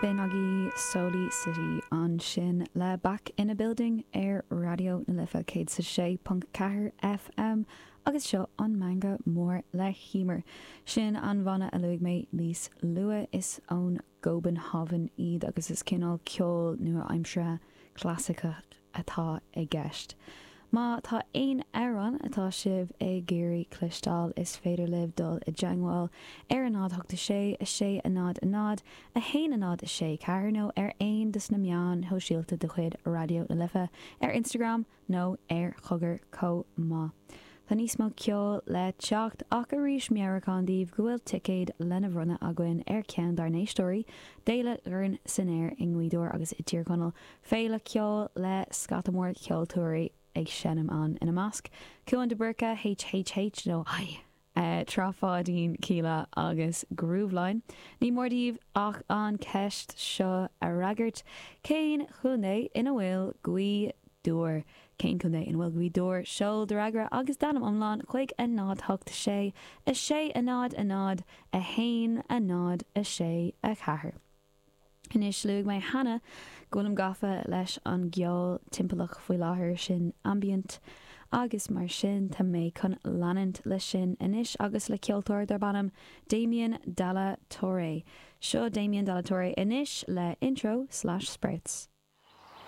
B'in agaibh Soli City ansin le Back in a Building ar Raidió na Life 106.4 FM agus seo an Meangadh Mór le hEmer. Sin an bhanna a luaigh mé níos luaithe. Is ón gCóbanhávan iad agus is cineál ceol nua-aimseartha clasaiceach atá i gceist. Má tá aon amhrán atá sibh ag iarraidh cloisteáil is féidir libh dul i dteangmháil ar 0 8 6 6 0 0 1 0 6 4 nó ar aon dos na meáin shóisialta de chuid Raidió na Life ar Instagram nó ar Chogar chomh maith. Tá níos mó ceoil le teacht ach arís meabhrúchán daoibh go bhfuil ticéid lena bhronnadh againn ar cheann dár n-éisteoirí d'Fhéile Dhorn san Aer i nGaoth Dobhair agus i dTír Chonaill, féile ceoil le scata mór ceoltóirí ag seinm ann, ina measc, Cuan de Búrca, HHH nó Trá Pháidín, Kíla agus Grooveline. Ní mór daoibh ach an ceist seo a fhreagairt, Cén chontae ina bhfuil Gaoth Dobhair? Cén contae ina bhfuil Gaoth Dobhair? Seol do fhreagra agus d'ainm iomlán chuig 0 8 6 6 0 0 1 0 6 4. Anois, luaigh mé cheana go bhfuilim gafa leis an gceol timpeallach faoi láthair, sin ambient, agus mar sin tá mé chun leanúint leis sin anois agus le ceoltóir darb ainm Damien Dalla Torre. Seo Damien Dalla Torre anois le Intro Slash Sprouts.